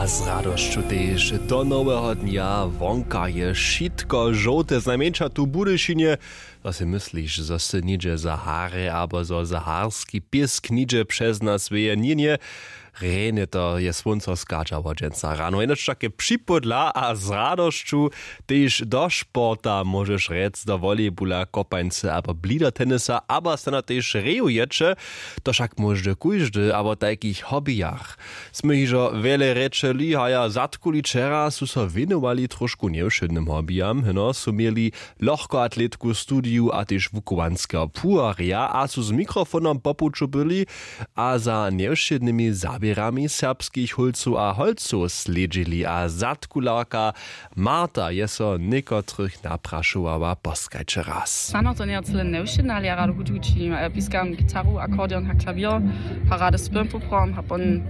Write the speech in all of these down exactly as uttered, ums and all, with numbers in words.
Z radosću tež do noweho dnja. Wonka je wšitko žołte, znajmjeńša tu w Budyšinje. Zo sej mysliš, zo sy něhdźe za hary abo zo za harski pěsk něhdźe přez nas wěje, ně ně. Rjenje to je słónco skarčało dźensa rano jenož take připódla a z radosću tež do sporta móžeš rjec, do volejbula, kopańcy abo blidertennisa abo stano tež reju jeće. To wšak móždy kóždy a wo tajkich hobbyjach smy hižo wjele rěčeli haja zadkuli wčera su so wěnowali trošku njewšědnym hobbyjam heno su měli lochkoatletku studiju a tež wuchowanskeho puharja a su z mikrofonom po puću byli a za njewšědnymi zaběrami serbskich hólcow a holcow slědźili a zadkularka marta je so někotrych naprašowała poskajće raz. Snano to njejo cyle njewšědne ale ja rady hudźi učim, piskam gitaru akordeon a klawěr, a rady spěwam poprawom a pon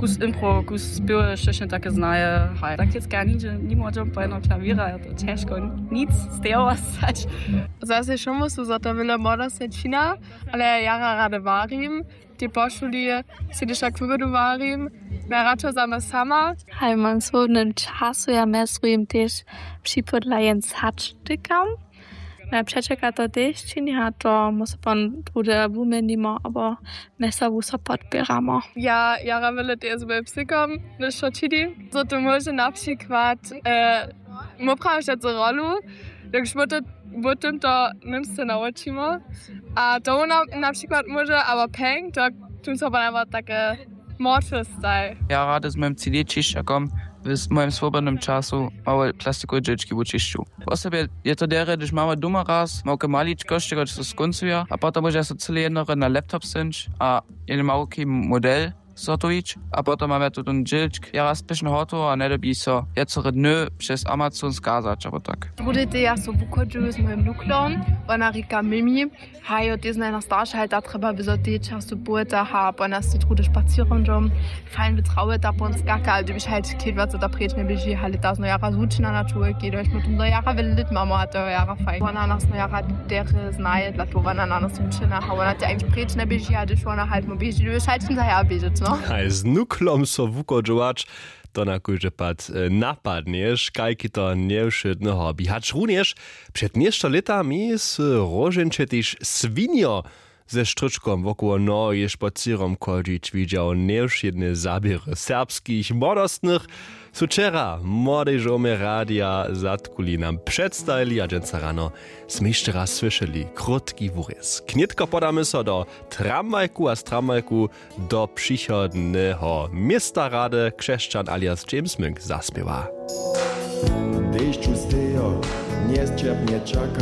kus impro kus spěwy štož nje take znaje. Haj tak dźěcka ja nihdźe nimodźom po jedno klawěra je to ćežko nic stejować. Zase šomu su za to wjele młodosće čina, ale jara rady warim. Tej pošuli sej tež tak wubědu warim, najradšo za mnje sama. Haj w mojim swobodnym času ja mjez druhim tež připodla jen sačtykam. Moja přećelka to tež čini a to my so pon druhdy wuměnimo abo mjez sobu so podpěramo. Ja jara wjele tež z mojim psykom něšto čini, zo to móže na přikład mój prawšecy rolu, dokelž my to my tym to němsce nawočimo. A to wona na přikład móže abo peng to tym so ponajmar take mortfestaj. Ja rady z mojim cd čišćakom w mojim swobodnym času małe plastikowe dźělčki wučišću. Wosebje je to derje hdyž mamy doma raz małke maličkosće kotrež so skóncuja a potom móžeja so cyle jednore na laptop syńć a jeden małki model zhotowić. A potom mamy tutón dźělčk jara spěšno hotowy a njedobi so wjecore dny přez amazon skazać abo tak. Druhdy teja so wuchodźu z mojim nuklom, wona rěka mimi, haj jo tež znajna starša haj ta trjeba wězo teje času połetach a po nas te druhdy špacěrom dźom. Fajn wětrawje ta pon skaka ale hdybiš haj kedła co ta preč njeběži hale ta zno jara zwučena na čłowjeki dož my tu zno jara wjele lět mamy a to jo jara fajn wona nas zno jara derje znaje dla toho wona na nas zwučena a wona te ani preč njeběži a hdyž wona haj mu běži hdybiš haj čim za jara běžeć no. Haj z nuklom so wuchodźować. To na kóždy pad napadnješ kajki to njewšědny hobby hač runjež před něšto lětami sy róžeńće tež swinjo ze štryčkom wokoło noho ješ pod sěrom chodźić widźał. Njewšědne zaběry serbskich młodostnych su wčera młodej žołmje radija zadkuli nam předstajili a dźensa rano smy hišće raz słyšeli krótki wurězk nětko podamy so do tramwajku a z tramwajku do přichodneho města rady křesćan alias james mink zaspěwa. W dešću stejo, njesćerpnje čaka.